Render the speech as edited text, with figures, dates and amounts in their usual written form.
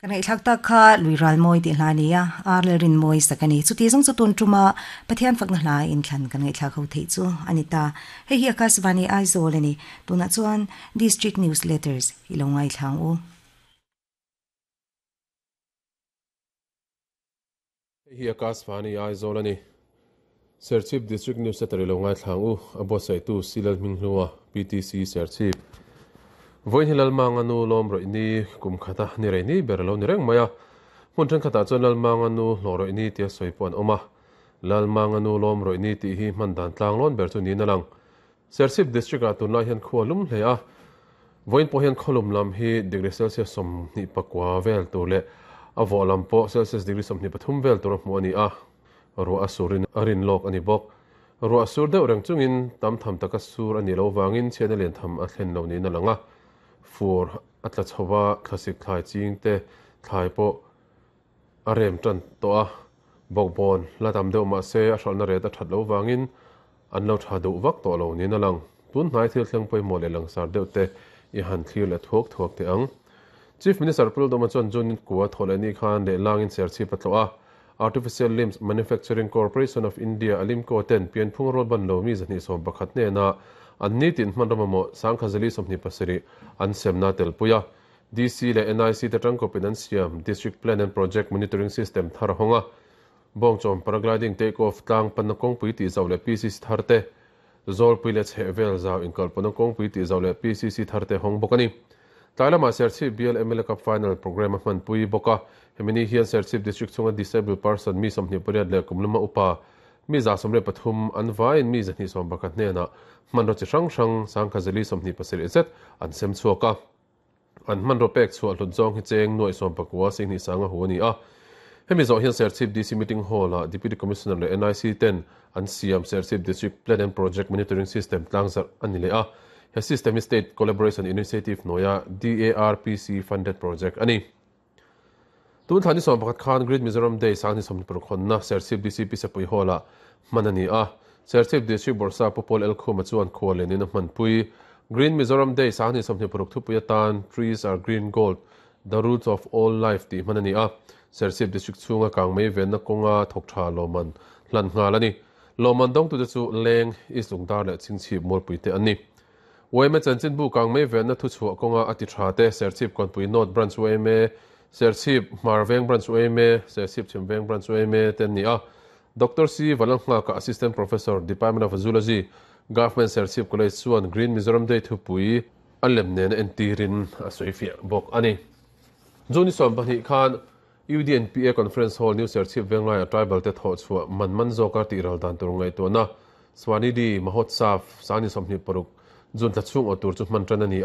Kan ngaihthlak tak kha Lui Ral Mawi tih hla a ni a, Ar leh Rin Mawi sak a ni. Chuti zawng chu tun tuma Pathian fakna hla inthlan kan ngaihthlak ho theih chu a ni ta. Hei hi Akashvani Aizawl a ni. Tunah chuan District Newsletters i lo ngaithla ang u. Hei hi Akashvani Aizawl a ni. Serchhip District Newsletter i lo ngaithla ang u, a buatsaihtu Silal Hminghlua, PTC Serchhip. Vawiin hi Lalmanga nu lawm rawih ni kum khata ni rei ni ber a lo ni reng mai a. Hmun thenkhatah chuan Lalmanga nu hlawh rawih ni tia sawi pawh an awm a. Lalmanga nu lawm rawih ni tih hi hman dan tlang lawn ber chu niin a lang. Serchhip District-ah tunlai hian khua lum hle a, vawiin pawh hian khawlum lam hi degree Celsius 29 vel tur leh a vawh lam pawh Celsius degree 23 vel tur a hmuh a ni a, ruah a surin a rin lawk a ni bawk. Ruah a sur deuh reng chungin tam tham taka sur a nih loh vangin chhiatna lian tham a thlen lo niin a lang a, fur a tla chho va, thlasik thlai ching te thlai pawh a rem tan tawh a, bawkbawn la tam deuh mah se a hralhna ret a that loh vangin an lo tha duh vak tawh lo niin a lang. Tun hnai thil thleng pawimawh leh langsar deuh te i han thlir leh thuak thuak teh ang. Chief Minister Pu Lalduhma chuan June kua thawh leh ni khan lehlangin serchhip a tlawh a, Artificial Limbs Manufacturing Corporation of India Alimco ten pianphung rual ban lo mi 211 hnena an nitin hmanraw mamawh sangkhazali 27 an semna telpui a. DC leh NIC te tangkawpin an siam District Plan and Project Monitoring System thar a hawng a. Bawngchawm Paragliding Take Off tlang panna kawngpui tih zauh leh PCC thar te, Zawlpui leh chhehvel zau inkalpawhna kawngpui tih zauh leh PCC thar te hawng bawk a ni. Tlai lamah Serchhip Bial mla Cup Final Programme a hmanpui bawk a. Hemi ni hian Serchhip District chhunga Disabled Person mi 28 leh kum lama upa mi 173 an vaiin mi 211 hnenah hmanraw chi hrang hrang sangkhazali 27 zet an sem chhuak a. An hmanraw pek chhuah hlut zawng hi cheng nuaih 19 sihnih sanga hu a ni a. Hemi zawh hian Serchhip DC Meeting Hall-ah Deputy Commissioner leh NIC ten an siam Serchhip District Plan and Project Monitoring System tlangzarh a ni leh a. He system hi State Collaboration Initiative hnuaia DARPC funded project a ni. Tun thla ni 11 khan Great Mizoram Day sang ni 26 hawnna Serchhip DCP Sepui Hall-ah hman a ni a. Serchhip District Bawrhsa Pu Paul Elkhuma chuan khual lenin a hmanpui. Green Mizoram Day sang ni 26 thupui atan Trees are Green Gold, The Roots of All Life tih hman a ni a. Serchhip District chhunga kangmei venna kawnga thawk tha lawmman hlan nghal a ni. Lawmman dawngtute chu Leng, East Lungdar leh Chhingchhip Mualpuite an ni. Yma chanchinbu kangmei venna thuchhuah kawnga a ti tha te, Serchhip Kawnpui North Branch yma, Serchhip Hmarveng Branch yma, Serchhip Chhimveng Branch yma te an ni a. Doctor C. Valalnghaka, Assistant Professor, Department of Zoology, Government Serchhip College chuan Green Mizoram Day thupui a lem nena entirin a sawifiah bawk a ni. June ni 12 khan UDNPA Conference Hall, New Serchhip Venglaiah Tribal te thawhchhuah man man zawka tihral dan tur ngaihtuahna Swanidhi Mahotsav 26 June thla chhung aw tur chu hman tan a ni a.